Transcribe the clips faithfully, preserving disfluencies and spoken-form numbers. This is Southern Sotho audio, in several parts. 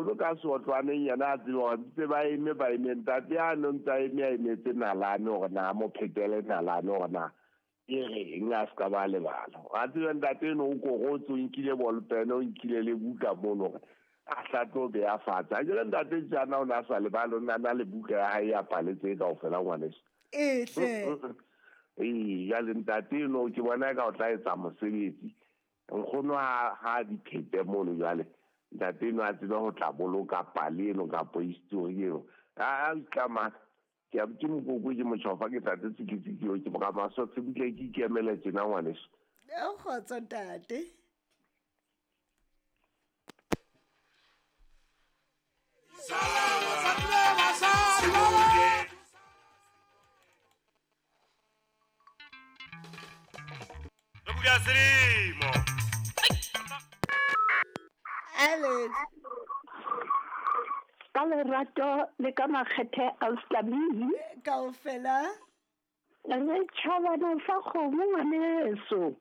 Nkgono ka seotlwaneng yena a tsebe hore ntse ba eme ba eme ntate a no ntse a eme a emetse nalane hore na mo phetele nalane hore na e reng a se ka ba lebala. A tsebe ntate eno o korotse o nkile bolpene o nkile le buka mono hore a hla tlo beha fatshe. Akere ntate tjana o ne a sa lebale, o ne a na le buka ya hae ya paletse kaofela ngwaneso. Ee hle. Ee, jwale ntate eno ke bona eka o tla etsa mosebetsi. Nkgono ha ha di phete mono jwale. Ntate eno a tsebe ho tla boloka pale eno kapo history eno. A itlama ke a ke mokoko ke motjhofa ke tate tsikitsiki eo ke boramasotse butle ke ikemele tjena ngwaneso. O kgotso ntate. Alex. Ka lerato le ka makgethe a Ustabili. Kaofela. Re tjhabana sa kgomo ngwaneso.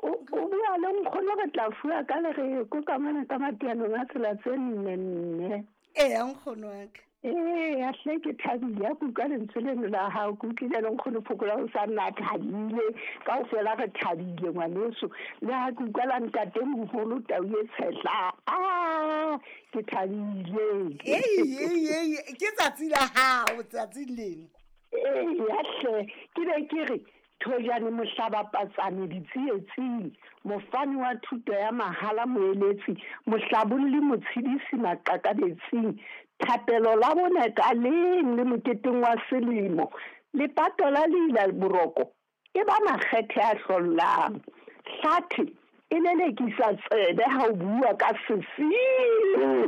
O o bua le nkgono re tla fuwa ka lereko ka mona ka matianong a tsela tse nne nne. Eya nkgono wa ka. Ee, a hle ke thabile a kutlwa lentswe leno la hao, ke utlwile le nkgono Phokola o sa nna thabile, kaofela re thabile ngwaneso. Le ha ke utlwa la ntate moholo tau e tshehla, ah, ke thabile. Ei, ei, ei, ke tsatsi la hao tsatsing leno. Ee, a hle, ke be ke re Thojane mohlabapatsane ditsietsing, mofani wa thuto ya mahala moeletsi, mohlabolli motshedisi maqakabetsing, thapelo la bone ka leng le moketeng wa selemo, lepato la leila boroko e ba makgethe a hlollang. Hlathe e lelekisa tsebe ha o bua ka sesiu.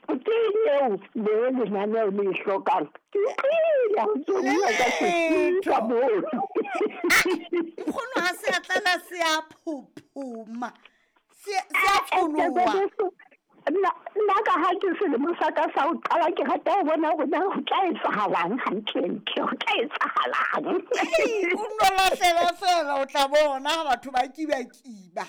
Ke eo le lenaneo le e hlokang. Ke utlwile ha o ntso bua ka sesiu ka moo. Nkgono ha se a tlala se a phophoma. Se se a tsholoha. Nna nna ka ha ke selemo sa ka sa ho qala ke rata ho bona hore na ho tla etsahalang hantlentle, ho tla etsahalang. O nno lahlela fela o tla bona ha batho ba kiba-kiba.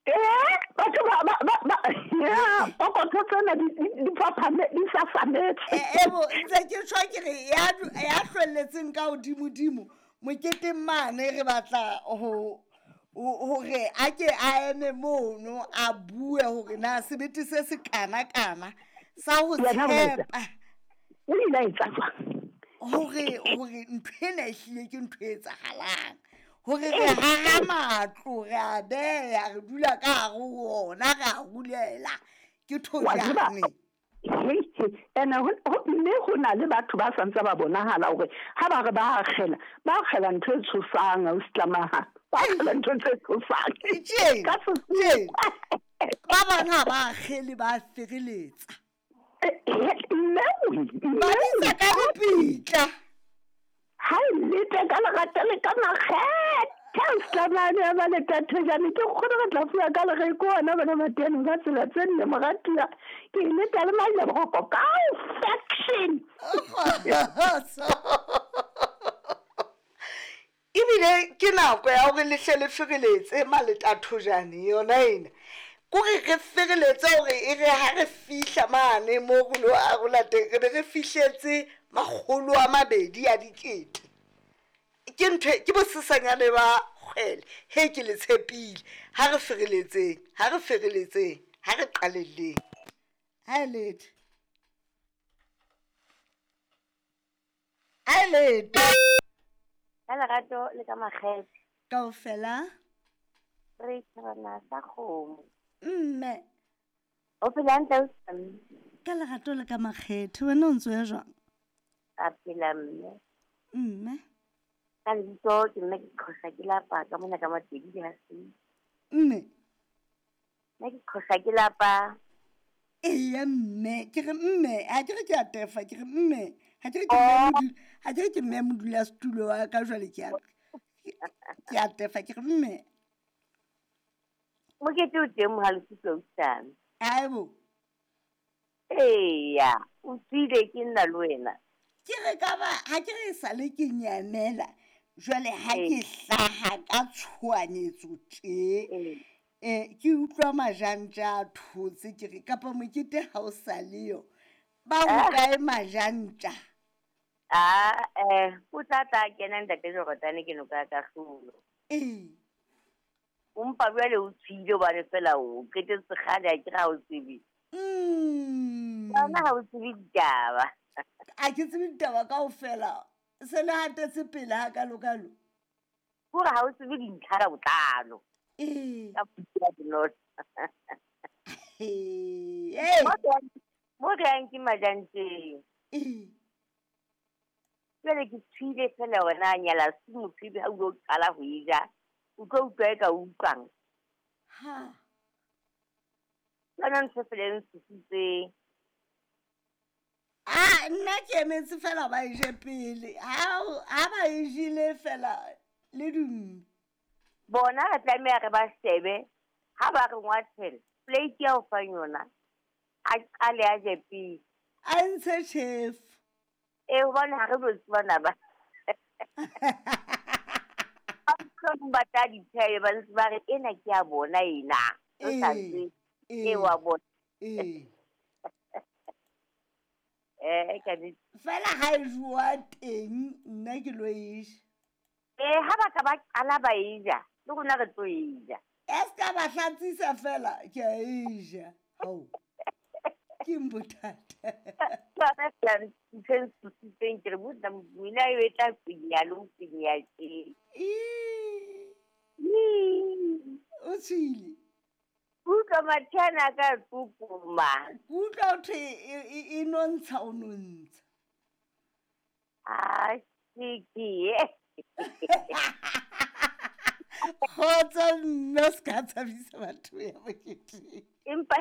Eh, batho ba ba ba ba ya, pokotho tsena di di phaphame di safametse. Ebo ntse ke tjho ke re ya ya hlwelletseng ka hodimodimo moketeng mane re batla ho hore a ke a eme mono a bue hore na sebete se se kana kana sa ho tshepa. O ile a etsa jwang? Hore hore ntho ena ehlile ke ntho e etsahalang. Hore re haha matlo, re a beha, re dula ka hare ho ona, re a rulela. Ke thojane. Ene mme ho na le batho ba santse ba bonahala hore ha ba re ba akgela, ba akgela ntho e tshosang ausi Tlamaha. Ba akgela ntho tse tshosang. Tjena, Ka sesiu. Ba bang ha ba akgele ba fereletsa. Mme Ba bitsa ka dipitla. Ha e lete ka lerata le ka makgethe ausi Tlamane ya ba le Thojane ke nkgono re tla fuwa ka lereko ona bona matianong ka tsela tse nne moratuwa. Ke e leta le majaboroko ka faction. Ebile ke nako ya hore le hle le fereletse maleta Thojane yona ena. Kore re fereletse hore e re ha re fihla mane mo re lo arola teng, re be re fihletse makgolo a mabedi a dikete. Ke ntho ke bosesanyane ba kgwele. He ke le tshepile. Ha re fereletseng, ha re fereletseng, ha re qalelleng. Ha e lete. Ha e lete. Ka lerato le ka makgethe. Kaofela. Re tjhabana sa kgomo. Mme. O phela hantle ausi? Ka lerato le ka makgethe, wena o ntso ya jwang? A phela mme. Mme. Ka lebitso ke mme ke qhosa ke lapa ka mona ka Matedi ha se. Mme. Nna ke qhosa ke lapa. Eya mme, ke re mme, ha ke re ke a tefa, ke re mme, ha ke re ke mme modula, ha ke re ke mme modula setulo wa ka jwale ke a ke a tefa, ke re mme. Mokete o teng mohale Sutlo ausi. Haebo. Eya, o tswile ke nna le wena. Ke re ka ba ha ke re sale ke nyamela, jwale ha ke hlaha ka tshohanyetso tje. Eh ke utlwa majantja a thotse ke re kapa mokete ha o sa leyo. Ba hokae majantja? Ah eh o tla tla kena ntate Jordan ke noka ka hlolo. Eh. Umpa jwale o tshile hobane fela o qetetse kgale a ke ra o tsebe. Mm. Yona ha o tsebe ditaba. A ke tsebe ditaba kaofela. Se le hatetse pele ha kalokalo. Hore ha o tsebe dintlha ka botlalo. Eh. Ka puo bonolo. Eh. Mo re yang ke majanteng. Eh. Jwale ke tshwile fela hore na nyala se motho ebe ha o lo qala ho e ja. O tlo utlwa e ka utlwang. Ha. Yona ntho fela e ntshositseng. Ah, nna ke emetse fela ba e je pele. Ha ha ba e jele fela le dumme. Bona re tlameha re ba shebe ha ba re ngwathela plate ya ho fang yona a qale a je pele. A ntshe chef. Eh hobane ha re no tsebana ba. Ba ba tla di phehe ba ntse ba re ena ke ya bona ena. O sa tsebe. Eh. E wa bona. Eh. Eh ka di fela ha e jowa teng nna ke lo e ja. Eh ha ba ka ba qala ba e ja le rona re tlo e ja. E ska ba hlatsisa fela ke a e ja. Hao. Ke mbothata. Ba ba fela ntho e ntshositseng ke re botsa mina e tla pinya le ho pinya tje. Ii. O tshwile. Utlwa mathana ka tsukuma. Utlwa ho thwe e nontsha o nontsha. Ah, ke. Kgotso mme o ska tshabisa batho ya moketeng. Empa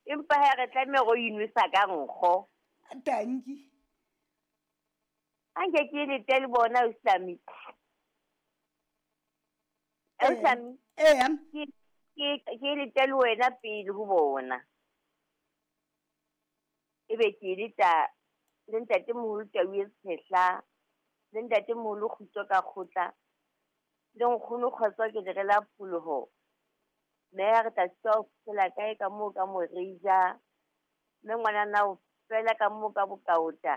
empa ha re tlameha ho inwesa ka nkgo. Tanki. Anke ke le tele bona o Islami. Islami. Eh. Ke ke ke le tele wena pele ho bona. Ebe ke le ta le ntate moholo Tau e Tshehla, le ntate moholo Kgutso ka kgotla. Le nkgono Kgotso ke le rela pholoho. Mme re tla tswa fela kae ka moo ka Morija. Mme ngwanana o fela ka moo ka Bokaota.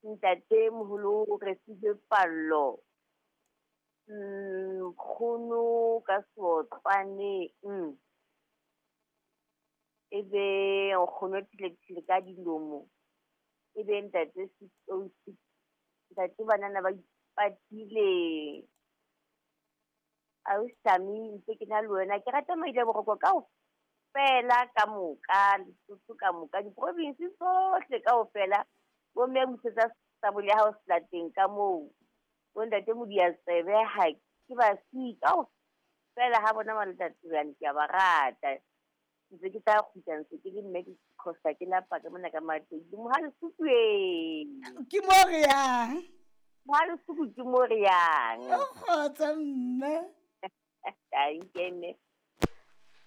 Ntate moholo re sile pallo. Nkgono ka Seotlwane. Mm. Ebe nkgono thile ka dilomo. Ebe ntate six oh six. Ntate banana ba ipatile. Ausi ntse ke na le wena ke rata maile boroko kaofela ka moka Lesotho ka moka diprovince tsohle kaofela bo mme busetsa sabole ya hao selateng ka moo bo ntate Modiatsebe ha ke ba si kaofela ha bona ntate bane ke a ba rata ntse ke tla kgutla ntse ke le mme ke khosa ke lapa ka mona ka Matedi Mohalesuku e ke mo re yang Mohalesuku ke mo re yang o kgotsa mme Thank you.